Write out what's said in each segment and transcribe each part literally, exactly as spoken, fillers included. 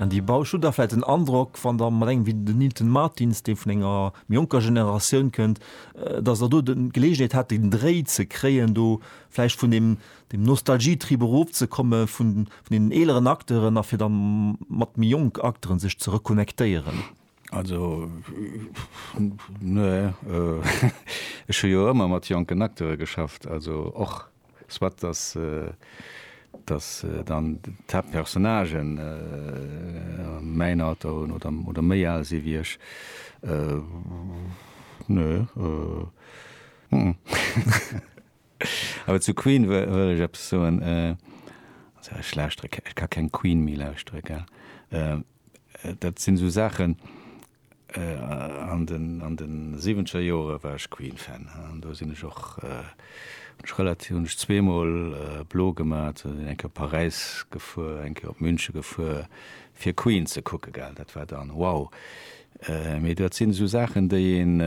An déi Bausch hutt der vläicht den Androck, wann der mat engem wéi den Nilton Martins, dee vun enger méi jonker Generatioun kënnt, datt der do d'Geleegenheet hat den Dréi ze kréien, do vläicht vun deem deem Nostalgietrip erofzekomme vun vun deenen eeleren Acteuren a fir da mat méi jonk Acteuren sech ze reconnectéieren? Also nee, ech hu jo ëmmer mat jonken Acteure geschafft, also och soit dass dass dann d'Haaptpersonnagen mäin Alter hunn oder oder méi al si wéi ech. Nee. Awer zu Queen wëll ech eppes soen. Also ech lauschtere, ech ka keng Queen méi lauschtere, gell. Dat sinn esou Saachen, an den an de siwwenzeger Jore war ech Queen-Fan an do sinn ech och, hunn ech relativ, hunn ech zweemol blo gemat, sinn eng Kéier op Paräis gefuer, eng Kéier op Münche gefuer fir Queen ze kucke, gell. Dat war dann wow. Mee dat sinn esou Saachen, déi een,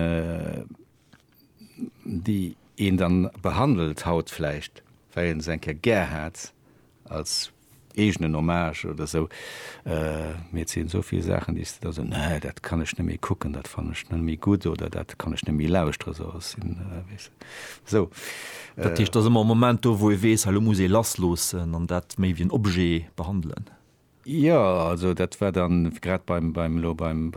déi een dann behandelt haut vläicht, well een se eng Kéier gär hat als eegenen Hommage oder sou. Mee et sinn esou vill Saachen, déi s de da sou, nee, dat kann ech net méi kucken, dat fannen ech net méi gutt oder dat kann ech net méi lauschteren, sou ass sinn, weess de, sou. Dat heescht, et ass ëmmer e Moment do, wou ee weess, elo muss ee lassloossen an dat méi wéi en Objet behandelen. Jo, also dat war dann grad beim, beim, elo beim, beim.